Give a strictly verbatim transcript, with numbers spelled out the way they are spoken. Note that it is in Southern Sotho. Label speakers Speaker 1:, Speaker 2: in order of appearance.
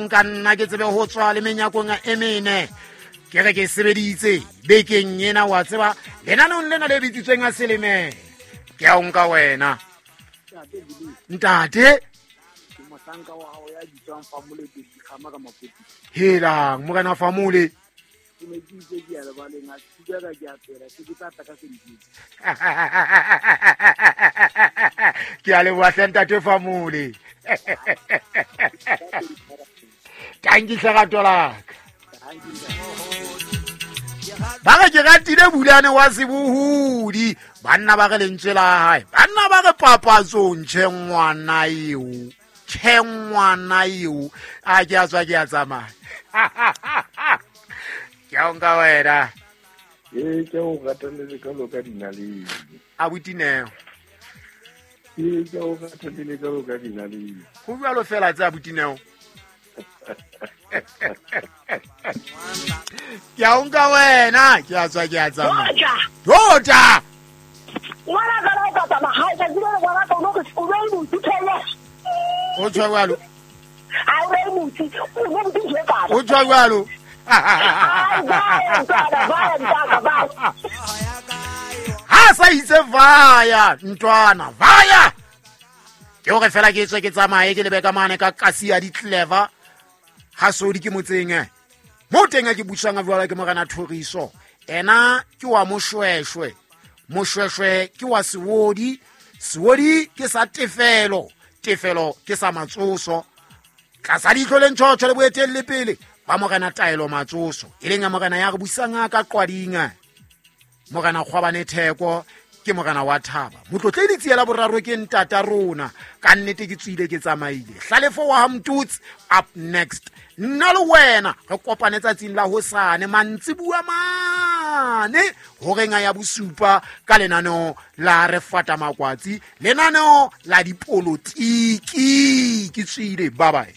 Speaker 1: Nka nna ke tsebe ho tswa le menyakong e mene. Ke re ke sebeditse bekeng ena, wa tseba lenaneong lena le bitsitsweng a seleme. Ke a o nka wena. Ntate.
Speaker 2: Ke mohlanka wa hao ya bitswang Famole Kgama ka Mapoti.
Speaker 1: Helang morena Famole.
Speaker 2: Ke ne ke itse ke ya lebaleng, a ke ka ke a tswela, se ke tla tla ka sentse.
Speaker 1: Ke a leboha hle ntate Famole. Tanki hle rato la ka. Ba re ke ratile Bulane wa sebohodi, banna ba re lentswe la hae, banna ba re papatsong tjhe ngwana eo, tjhe ngwana eo, a ke a tswa ke a tsamaya. Ke a o nka wena.
Speaker 3: Ee, ke o ratile ka loka dinaledi.
Speaker 1: Abuti Neo.
Speaker 3: Ee, ke o ratile ka loka dinaledi.
Speaker 1: Ho jwalo fela tse abuti Neo. Ke a o nka wena, ke a tswa ke a tsamaya. Tota.
Speaker 4: Ngwana ka la ka tsamaya, ha ke tsebe ngwana ka o no re o be motho thele.
Speaker 1: O tswa jwalo.
Speaker 4: Ha o be motho, o be motho je ka.
Speaker 1: O tswa jwalo. Ha sa itse vaya ntwana vaya. Ke hore fela ke tswe ke tsamaye ke lebe ka mane ka kasi ya di-clever. Ha sodi ke motseng eh. Mo teng a ke busang a jwalo ke morena Thoriso. Ena ke wa Moshweshwe. Moshweshwe ke wa Sewodi. Sewodi ke sa Tefelo. Tefelo ke sa Matsoso. Tlasa leihlo le ntjhotjho le boetelle pele ba morena Taelo Matsoso, e leng ya morena ya re busang ka Qwading. Morena Kgwabane Theko ke morena wa Thaba. Motlotle ditsi la boraro ke ntata rona. Ka nnete ke tswile ke tsamaile. Hlalefo wa Hamtutsi up next. Nna le wena re kopane tsatsing la hosane mantsibuwa mane horeng ya bosupa ka lenaneo la re fata makwatsi, lenaneo la dipolotiki. Ke tswile, bye bye.